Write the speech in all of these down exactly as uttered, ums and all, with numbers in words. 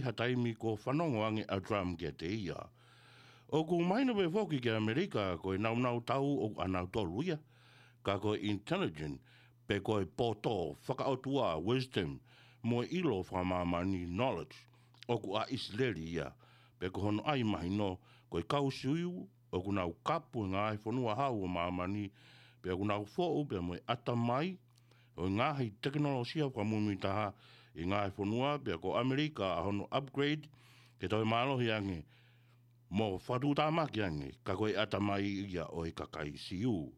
ha taimi kuo fanongo ange ʻa Trump kiate ia. ʻOku mahino pē foki ki ʻAmelika ko e nāunau tau ʻoku ʻanautolu ia, ka ko e intelligent, pe ko e poto fakaʻotua, wisdom, mo e ʻilo fakamāmani, knowledge, ʻoku ʻa ʻIsileli ia, pe ko hono ʻai mahino, ko e kau Siu ʻoku nau kapu e ngaahi fonua hau ʻo māmani, pea ʻoku nau foʻu pea mo e ʻatamai ʻo e ngaahi tekinolosia fakamuimuitaha ʻi he ngaahi fonua, pea ko ʻAmelika ʻa hono upgrade ke toe mālohi ange mo fakatuʻutāmaki ange, ka ko e ʻatamai ia ʻo e kakai Siu.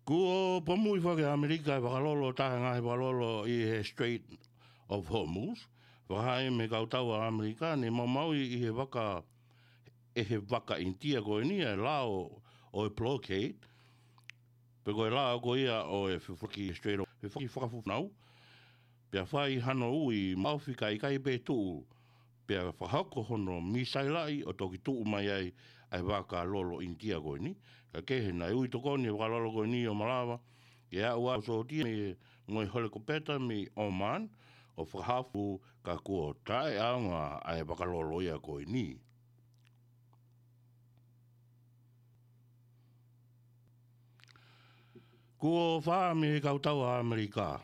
Kuo pomuʻi foki ʻe ʻAmelika e vakalolo, taha e ngaahi vakalolo ʻi he Strait of Hormuz. Fakahā mei he kau tau ʻa ʻAmelika, ne maumauʻi ʻe he vaka, ʻe he vaka ʻInitia ko eni e lao ʻo e blockade, pe ko e lao ko ia ʻo e fefoki Strait of, fefoki fakafufunau. Pea fai hano ui maʻofi kae ʻikai pē tuʻu, pea fakahoko hono misailaʻi ʻo toki tuʻu mai ai ʻa e vakalolo ʻInitia ko eni. Kae kehe, naʻe ui tokoni e vakalolo ko eni ʻo malava ke aʻu ʻa e sōtia mei, mo e helikopeta mei Oman ʻo fakahaofi, ka kuo taʻeʻaonga ʻa e vakalolo ia ko eni. Kuo fakahā mei he kau tau ʻa ʻAmelika,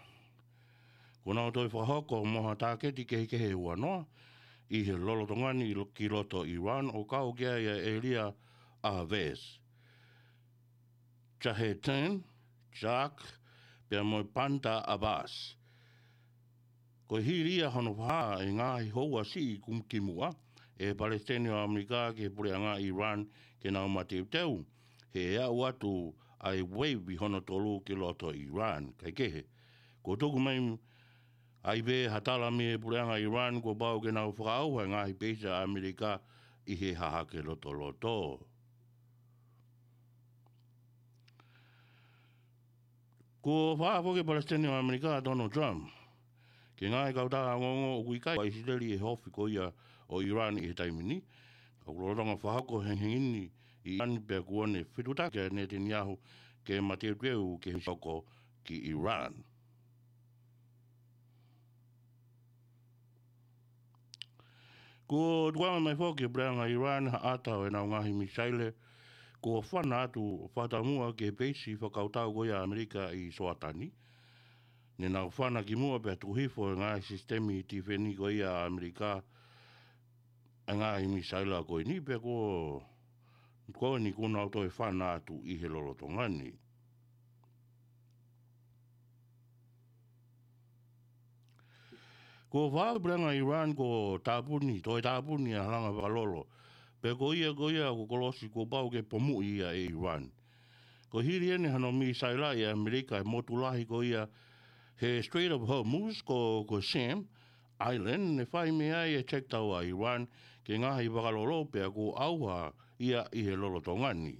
kuo nau toe fakahoko mo ha tāketi kehekehe ʻe uanoa ʻi he lolotonga ni ki loto Iran, ʻo kau ki ai ʻa e ʻēlia ʻa Fars, Zahedan, Jack, pea mo e Bandar Abbas. Ko e hili ia hono fakahā ʻe he ngaahi houa siʻi kum-, kimuʻa ʻe he Palesiteni ʻo ʻAmelika ki he puleʻanga Iran ke nau mateuteu, he ʻe aʻu atu ʻa e wave hono tolu ki loto Iran. Kae kehe, kuo tuku mai ai pē ha tala mei he puleʻanga Iran kuo pau ke nau fakaʻauha e ngaahi peisi ʻa ʻAmelika ʻi he hahake lotoloto. Kuo fakahā foki ʻe he Palesiteni ʻo ʻAmelika, Donald Trump, ki he ngaahi kautaha ongoongo ʻoku ʻikai ʻa ʻIsileli ʻi he ofi ko ia ʻo Iran ʻi he taimi ni. Ka ʻoku lolotonga fakahoko e hengihengi ni ʻi Iran, pea kuo ne fetuʻutaki ʻa Netanyahu ke mateuteu ki he hoko ki Iran. Kuo tukuange mai foki ʻe he puleʻanga Iran ha ʻata ʻo ʻenau ngaahi misaile kuo fana atu fakataumuʻa ki he peisi fakakautau ko ia ʻa ʻAmelika ʻi Soatani. Ne nau fana kimuʻa pea tuku hifo e ngaahi sisitemi tifeni ko ia ʻa ʻAmelika ʻa e ngaahi misaile ko eni, pea kuo, ko eni kuo nau toe fana atu ʻi he lolotonga ni. Kuo fakahā ʻe he puleʻanga Iran kuo tāpuni, toe tāpuni ʻa e halanga vakalolo, pea ko ia, ko ia ʻoku kolosi kuo pau ke pomuʻi ia ʻe Iran. Ko e hili eni hano misailaʻi ʻe ʻAmelika e motu lahi ko ia he Strait of Hormuz, ko, ko Qasem Island, ne fai mei ai e check tau ʻa Iran ki he ngaahi vakalolo, pea kuo ʻauha ia ʻi he lolotonga ni.